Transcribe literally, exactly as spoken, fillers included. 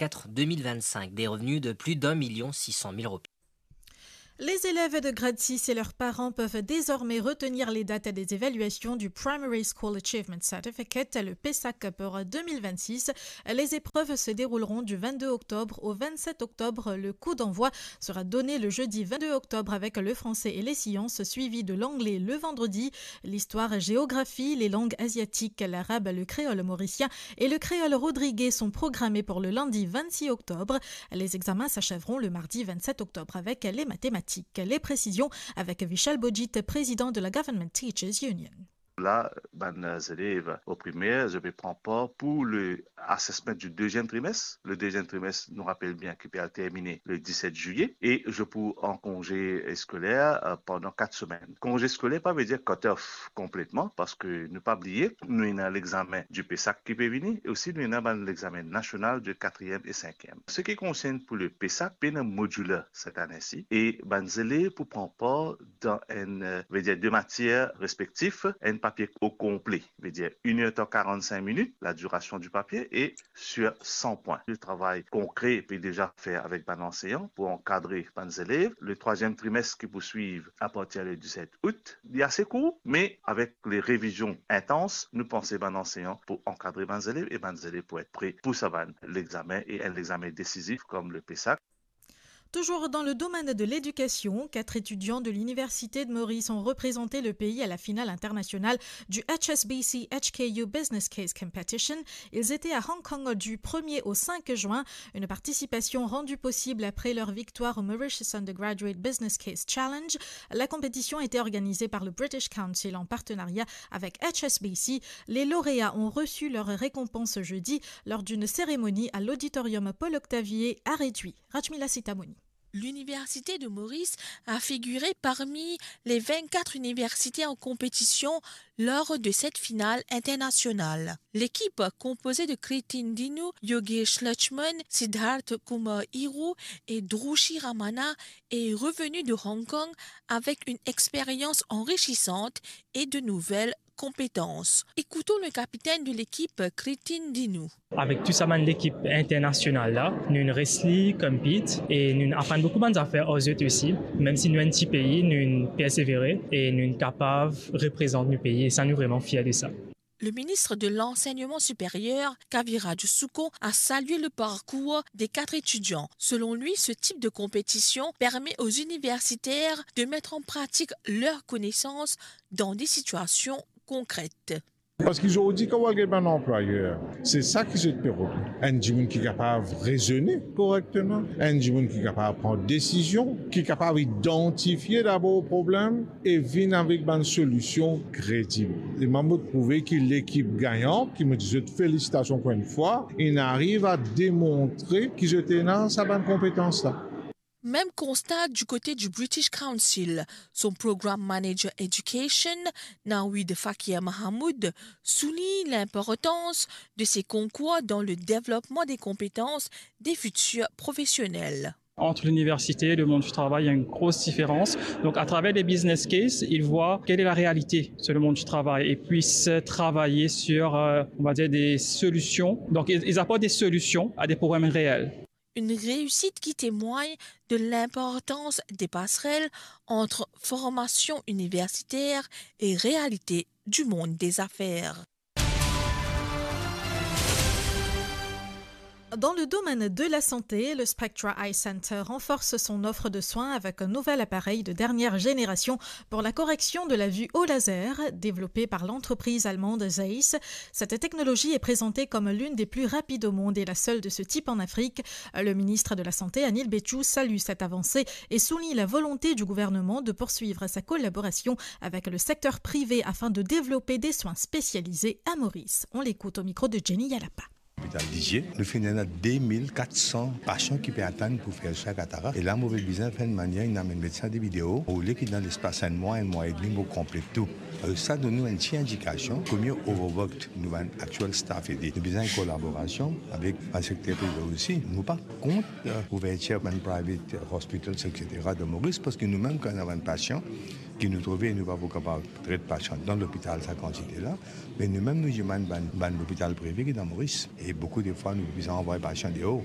quatre deux mille vingt-cinq, des revenus de plus d'un million six cent mille roupies. Les élèves de grade six et leurs parents peuvent désormais retenir les dates des évaluations du Primary School Achievement Certificate, le PESAC, pour deux mille vingt-six. Les épreuves se dérouleront du vingt-deux octobre au vingt-sept octobre. Le coup d'envoi sera donné le jeudi vingt-deux octobre avec le français et les sciences, suivi de l'anglais le vendredi. L'histoire-géographie, les langues asiatiques, l'arabe, le créole mauricien et le créole rodriguais sont programmés pour le lundi vingt-six octobre. Les examens s'achèveront le mardi vingt-sept octobre avec les mathématiques. Les précisions avec Vishal Bojit, président de la Government Teachers Union. La, bann zelev o primer, zot pe pran par pou le assessment du deuxième trimestre. Le deuxième trimestre, nou rapel bien, ki pe al termine le dix-sept juillet, e zot pou an konze skoler, euh, pandan kat semenn. Konze skoler pa ve dir cut off konpletman, parski nou pa bliye, nou ena lexamen du PESAC ki pe vini, e osi nou ena bann lexamen nasional de katriem e sinkiem. Se ki konsern pou le PESAC, pena modular set ane si, e bann zelev pou pran par dan enn, euh, ve dir de matier respektif, enn papie o konple, ve dir une heure tant quarante-cinq minutes, la duration du papier, et sur cent points. Le travay konkre pe deza fer avek bann anseyan pou ankadre bann zelev. Le troisième trimestre ki pou swiv apartir le dix-sept août, li ase kour, me avek le revizion intans, nou panse bann anseyan pou ankadre bann zelev e bann zelev pou et pre pou sa bann lexamen, e enn lexamen desizif kom le PESAC. Toujours dans le domaine de l'éducation, quatre étudiants de l'Université de Maurice ont représenté le pays à la finale internationale du H S B C H K U Business Case Competition. Ils étaient à Hong Kong du premier au cinq juin, une participation rendue possible après leur victoire au Mauritius Undergraduate Business Case Challenge. La compétition était organisée par le British Council en partenariat avec H S B C. Les lauréats ont reçu leur récompense jeudi lors d'une cérémonie à l'auditorium Paul Octavier à Reduy. Rajmila Sitamouni. L'Université de Maurice a figuré parmi les vingt-quatre universités en compétition lors de cette finale internationale. L'équipe, composée de Kritin Dinu, Yogesh Lachman, Siddharth Kumar Hiru et Drushi Ramana, est revenue de Hong Kong avec une expérience enrichissante et de nouvelles compétences. Écoutons le capitaine de l'équipe, Kritin Dinu. Avek tou sa bann lekip internasional la, nou'nn res li compete e nou'nn aprann boukou bann zafer ar zot osi. Mem si nou enn ti pei, nou'nn persevere e nou'nn kapav reprezant nou pei, e sa nou vreman fier de sa. Le ministre de l'Enseignement supérieur, Kaviraj Sookon, a salué le parcours des quatre étudiants. Selon lui, ce type de compétition permet aux universitaires de mettre en pratique leurs connaissances dans des situations concrètes. Parski zordi, kan ou al get bann anplwayer, se sa ki zot pe rod. Enn dimoun ki kapav rezone korekteman, enn dimoun ki kapav pran desizion, ki kapav idantifie dabor problem e vinn avek bann solision kredib. E mwa, mo trouve ki lekip gagnan, ki mo dir zot felisitasion ankor enn fwa, inn ariv a demontre ki zot ena sa bann konpetans la. Même constat du côté du British Council. Son Programme Manager Education, Naweed Fakir Mahamood, souligne l'importance de ces concours dans le développement des compétences des futurs professionnels. Entre l'université et le monde du travail, il y a une grosse différence. Donc, à travers des business cases, ils voient quelle est la réalité sur le monde du travail et puissent travailler sur, euh, on va dire, des solutions. Donc, ils, ils apportent des solutions à des problèmes réels. Une réussite qui témoigne de l'importance des passerelles entre formation universitaire et réalité du monde des affaires. Dans le domaine de la santé, le Spectra Eye Center renforce son offre de soins avec un nouvel appareil de dernière génération pour la correction de la vue au laser, développé par l'entreprise allemande Zeiss. Cette technologie est présentée comme l'une des plus rapides au monde et la seule de ce type en Afrique. Le ministre de la Santé, Anil Bechu, salue cette avancée et souligne la volonté du gouvernement de poursuivre sa collaboration avec le secteur privé afin de développer des soins spécialisés à Maurice. On l'écoute au micro de Jenny Yalapa. Lopital Lizie, nou finn ena de mil kat san pasian ki pe atann pou fer swin katarak. E la, mo pe bizin fer enn manier inn amenn medsin de video, olie ki dan lespas enn mwa, enn mwa edmi, mo konplet tou. Alor, sa donn nou enn ti indikasion komie overbooked nou bann actual staff ete. Nou bizin enn kolaborasion avek bann sekter prive osi. Nou pa kont, euh, ouvertir bann private hospitals, et cetera, dan Moris, parski nou mem, kan nou ena bann pasian ki nou trouve nou pa pou kapav tret pasian dan lopital sa kantite la, me nou mem nou dimann bann, bann lopital prive ki dan Moris. E boukou de fwa, nou bizin anvway pasian deor.